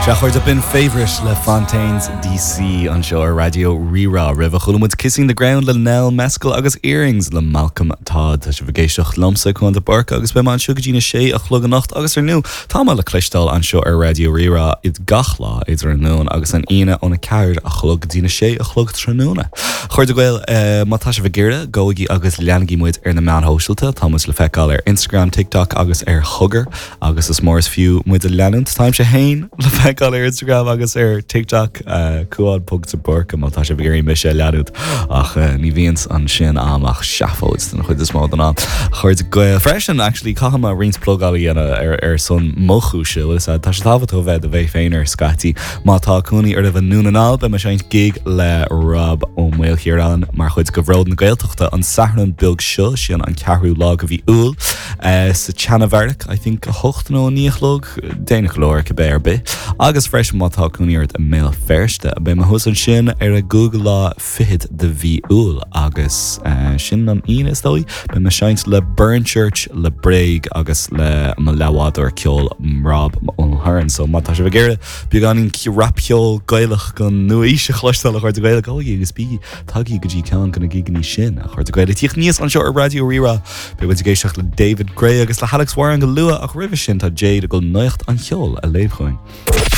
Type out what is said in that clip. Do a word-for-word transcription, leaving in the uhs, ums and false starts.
Sea b'in Favourite le Fontaines DC anseo ar Raidió Rí-Rá roimhe chuala muid Kissing the Ground le Nell Mescal agus Earrings le Malcolm Todd Tá sibh ag éisteacht liomsa Cuán de Búrca agus beidh mé anseo go dtí a sé a chlog anocht agus ar ndóigh tá mé le cloisteáil anseo ar Raidió Rí-Rá id gach lá idir an Luan agus an Aoine óna ceathair a chlog go dtí a sé a chlog tráthnóna. Chairde Gael uh, má tá sibh ag iarraidh gabhaigí agus leanaigí muid ar na meáin shóisialta tá muid le feiceáil ar Instagram, TikTok agus ar Chogar agus is mór is fiú muid a leanúint Táimse féin le feiceáil ar Instagram agus ar TikTok uh, Cuán de Búrca má tá sibh ag iarraidh mise a leanúint ach uh, ní bhíonn ansin ach seafóid den chuid is mó den am. Chairde Gael freisin actually caithfidh mé roinnt plugáil a dhéanamh ar ar son mo chúise tá sé tábhachtach bheith do bheith féin ar scaití má tá cónaí oraibh i nDún na nGall beidh mé ag seinnt gig le Rob Ó Maolchiaráin mar chuid de Bhród na Gaeltachta an Satharn beag seo sin an ceathrú lá de mhí Iúil uh, sa tSeanbheairic I think a hocht nó naoi a chlog déanach leor cibé ar bith agus freisin má tá cónaí ort i mBéal Feirste beidh mé thuas ansin ar an gcúigiú lá fichead de mhí Iúil agus uh, sin an Aoine is dóigh beidh mé ag seinnt le Burn Church le Bréag agus le mo leathbhádóir ceoil Rob O'Hearn so má tá sibh ag iarraidh beagáinín rapcheol Gaelach go nua-aois a chloisteáil a chairde Gael gabhaigí agus bí tagaigí go dtí ceann de na gigeanna sin a chairde Gael tíocht níos anseo ar Raidió Rí-Rá Beidh muid ag éisteacht le David Gray agus le Alex Warren go luath ach roimhe sin tá Jade ag dul nuacht an cheoil a léamh chugainn.